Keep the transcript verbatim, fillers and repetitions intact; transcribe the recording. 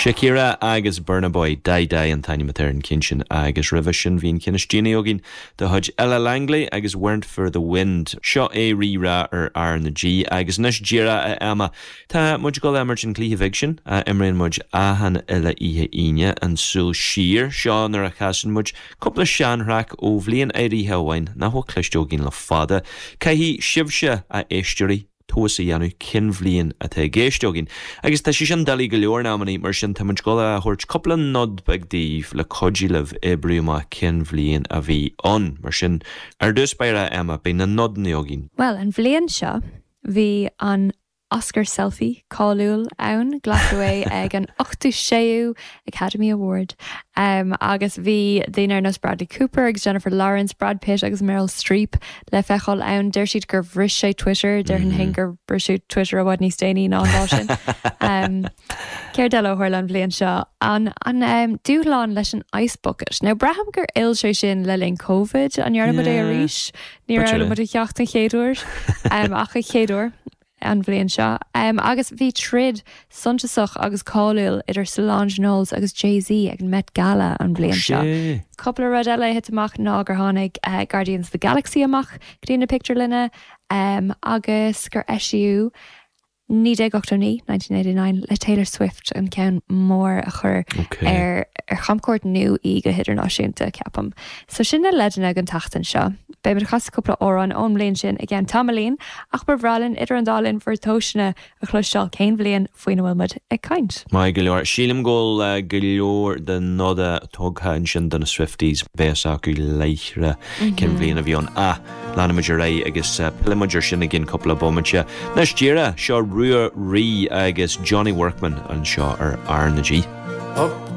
Shakira agus Burna Boy Dai Dai an t-ainm atá ar an gceann sin agus roimhe sin bhí an ceann is déanaí againn de chuid Ella Langley agus Weren't for the Wind. Seo é Rí-Rá ar R na G agus anois díreach a Emma. Tá muid ag dul a imirt an cluiche beag sin a imríonn muid achan uile oíche Aoine an súil siar seo nuair a chasann muid cúpla seanthraic ó bhliain áirithe amháin nach bhfuil cloiste againn le fada. Caithfidh sibhse a éisteoirí tomhas a dhéanamh cén bhliain atá i gceist againn. Agus tá sé sin doiligh go leor in amannaí mar sin tá muid ag dul a thabhairt cúpla nod beag daoibh le cuidiú libh oibriú amach cén bhliain a bhí ann. Mar sin ar dtús báire Emma beidh na nodanna againn. Well, an bhliain seo bhí an Oscar selfie cáiliúil ann glacadh é ag an ochtú séú Academy Award um, agus bhí daoine ar nós Bradley Cooper agus Jennifer Lawrence, Brad Pitt agus Meryl Streep le feiceáil ann deir siad gur bhris sé Twitter déarfainn mm -hmm. gur briseadh Twitter i bhfad níos déanaí ná an lá sin. um, Céard eile a tharla an bhliain seo an an um, dúshlán leis an ice bucket. Now braithim gur fhill sé sin le linn COVID an ndearna é arís ní raibh a cheacht an chéadúir um, ach a chéadúir an bhliain seo. Um, agus bhí troid suntasach agus cáiliúil idir Solange Knowles agus Jay-Z ag an Met Gala an bhliain seo. Cúpla rud eile thit amach ná gur tháinig uh, Guardians of the Galaxy amach go dtí na pictiúrlanna um, agus gur eisíodh naoi déag ochtó naoi nineteen eighty nine le Taylor Swift an ceann mór a chur okay. ar ar chamchuairt nua í go hidirnáisiúnta ceapaim. So sin na leideanna an tseachtain seo. Beimid ag casadh cúpla amhrán ón mbliain sin i gceann tamaillín ach ba bhreá linn idir an dá linn bhur dtomhaiseanna a chloisteáil cén bhliain faoina bhfuil muid ag caint. Maith go leor sílim go bhfuil go leor de noda tugtha ansin do na Swifties beidh acu láithreach cén bhliain a bhí ann a leanfaimid ar aghaidh agus pillfimid air sin i gceann cúpla bomaite. Anois díreach seo Rua Rí agus Johnny Workman anseo ar R na G. Up